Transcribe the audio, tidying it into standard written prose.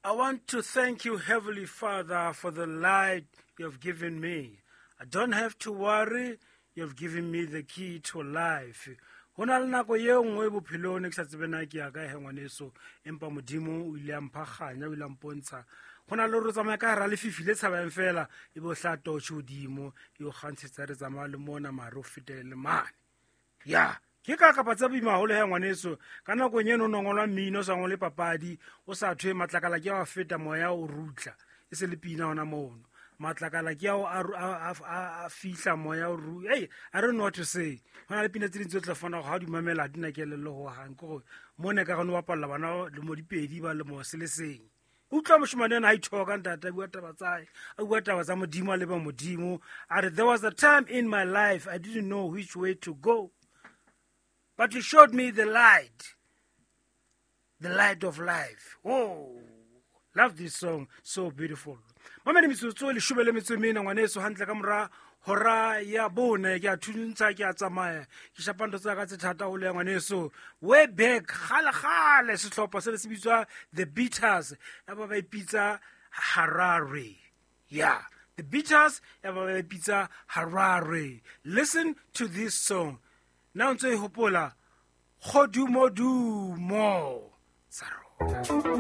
I want to thank you, Heavenly Father, for the light you have given me. I don't have to worry. You have given me the key to life. Ho na le nako ye nngwe bophelong ne ke sa tsebe na ke ya kae he ngwaneso, empa Modimo o ile a mpha kganya, o ile a mpontsha. Go na le gore o tsamaya ka gara lefifi le tshabayang fela, e be o hla torch hodimo e o kgantshetsa, re tsamaya le mona mare o fetele le mane. Ya ke ka kapa tsa boima haholo he ngwaneso. Ka nakong eno o no ngolwa mmino, o sa ngole papadi, o sa thwe matlakala ke a feta moya o rutla, e se le pina hona mono. Matlakala ke ao a fihla moya o ru. Hey, I don't know what to say. Ho na le pina tse ding tse tla fana go ha di mamela di na kelello ho hang, ke gore mo ne ka gane o bapalla bana lemo dipedi ba lemo se le seng. Utlwa moshemane ena ha ithoka ntate, a bua taba tsa hae, a bua taba tsa Modimo, a leba Modimo. A re, there was a time in my life I didn't know which way to go, but you showed me the light, the light of life. Oh, love this song, so beautiful. Mamedi metsotso 14 ngwaneso, hantle ka mora hora ya bone. Ke a thuntsha, ke a tsamaya, ke shapa ntho tsa ka tse thata haholo ya ngwaneso. Way back kgale kgale, sehlopha se ne se bitswa The Beaters, ya ba ba ipitsa Harare. Yeah, The Beaters, ya ba ba ipitsa Harare. Listen to this song na o ntso e hopola, Kgodumodumo tsa rona.